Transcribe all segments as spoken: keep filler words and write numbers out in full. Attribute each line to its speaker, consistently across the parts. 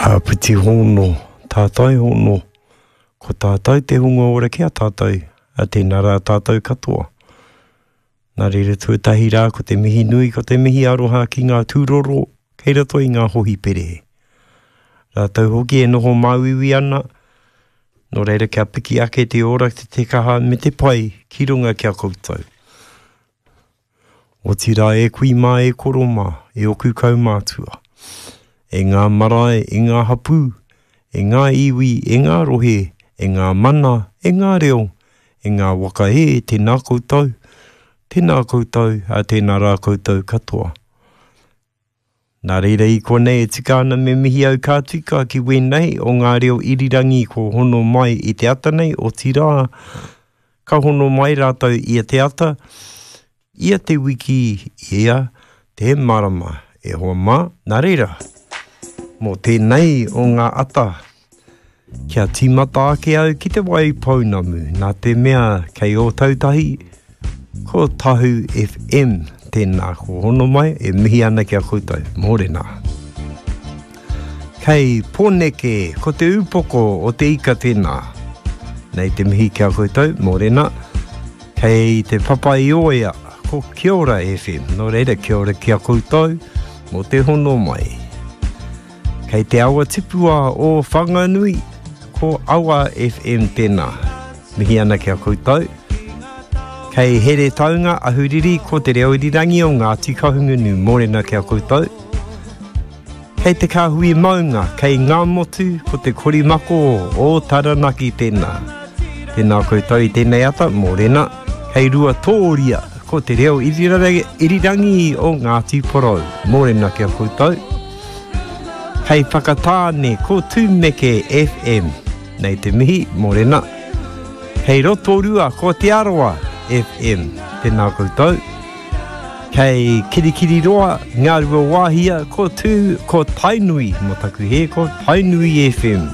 Speaker 1: Āpiti hono, tātai hono, ko tātou te hunga ora ki a tātou, a tēnā rā tātou katoa. Nā reira tuatahi rā ko te mihi nui, ko te mihi aroha ki ngā tūroro, kei roto i ngā hohipere. Rātou hoki e noho māuiui ana, nō reira kia piki ake te ora, te te kaha me te pai ki runga ki a koutou. Otirā e kui mā e koro mā, e oku kaumātua. E ngā marae, e ngā hapū, e ngā iwi, e ngā rohe, e ngā mana, e ngā reo, e ngā waka e, tēnā koutou, tēnā koutou, a tēnā rā koutou katoa. Nā reira i konei e tika ana me mihi au ka tika ki wēnei o ngā reo irirangi ko hono mai i te ata nei, otirā, ka hono mai rātou i te ata, ia te wiki, ia te marama. E hoa mā, nā reira, mō tēnei o ngā ata, kia tīmata ake au ki te wai pounamu, nā te mea kei Ōtautahi, ko Tahu F M, tēnā ko hono mai, e mihi ana ki a koutou, mōrena. Kei Pōneke, ko te upoko o te ika tēnā. Nei te mihi ki a koutou, mōrena. Kei te Papaioea, ko Kia Ora F M, nō reira kia ora ki a koutou, mō te hono mai. Kei te awa tipua o Whanganui, ko Awa F M tēnā. Mihi ana ki a koutou. Kei Heretaunga, Ahuriri, ko te reo irirangi o Ngāti Kahungunu, mōrena ki a koutou. Kei te Kāhui Maunga, kei Ngāmotu, ko te korimako o Taranaki tēnā. Tēnā koutou i tēnei ata, mōrena. Kei Ruatōria, ko te reo irirangi, irirangi o Ngāti Porou, mōrena ki a koutou. Kei Whakatāne, ko Tūmeke F M, nei te mihi, mōrena. Kei Rotorua, ko Te Arawa F M, tēnā koutou. Kei Kirikiriroa, Ngā Ruawāhia, ko Tū, ko Tainui, mō taku hē, ko Tainui F M.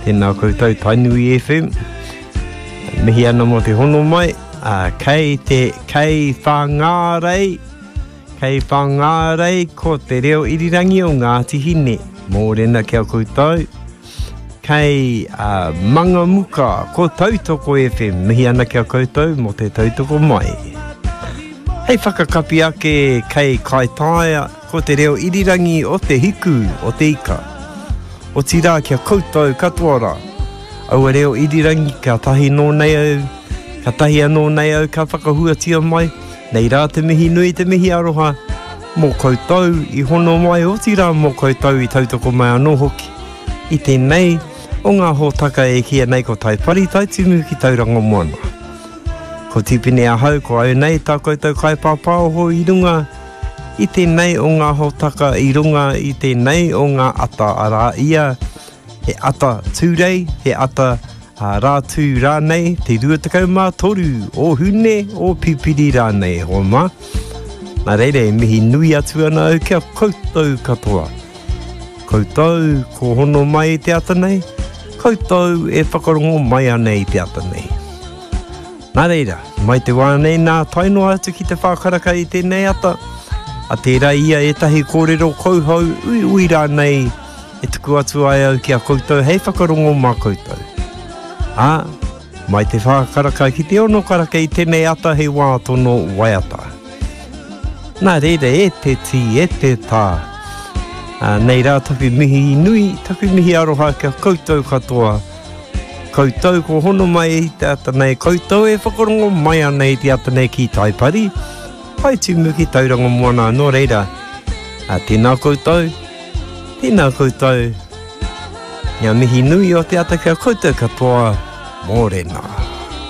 Speaker 1: Tēnā koutou Tainui F M. Mihi ana mō te hono mai. Uh, kei te, kei Whangārei, kei Whangārei ko te reo irirangi o Ngāti Hine. Mōrena ki a koutou. Kei, uh, Mangamuka, ko Tautoko F M. Mihi ana ki a koutou mō te tautoko mai. Hei whakakapi ake kei Kaitaia, ko te reo irirangi o te hiku o te ika. Otirā kia koutou katoa rā. Aua reo irirangi ka tahi nō nei au, ka tahi anō nei au ka whakahuatia mai. Nei rā te mihi nui te mihi aroha mō koutou i hono mai, otirā mō koutou i tautoko mai anō hoki. I tēnei o ngā hōtaka e kīia nei ko Taipari Taitimu ki Tauranga Moana. Ko Tipene ahau, ko au nei tā koutou kaipāpāoho i runga i tēnei o ngā hōtaka, i runga i tēnei o ngā ata, arā ia, he ata tūrei, he ata a rātū rānei, te rua tekau mā toru o Hune, o Pipiri rānei, e hoa mā. Nā reira e mihi nui atu ana au kia koutou katoa. Koutou ko hono mai i te ata nei, koutou e whakarongo mai ana i te ata nei. Nā reira, mai te wā nei nā tae noa atu ki te whākaraka i tēnei ata, a tērā ia ētahi kōrero kauhau ui ui rānei e tuku atu ai au ki a koutou hei whakarongo mā koutou. Ā, mai te whākaraka ki te ono karaka i tēnei ata hei wā tono waiata. Nā reira e te tī, e te tā. Ā, nei rā taku mihi nui, taku mihi aroha kia koutou katoa. Koutou ko hono mai i te ata nei, koutou e whakarongo mai ana i te ata nei ki Taipari, Taitimu ki Tauranga Moana, nō reira. Ā, tēnā koutou, tēnā koutou. Ngā mihi nui o te ata kia koutou katoa, mōrena.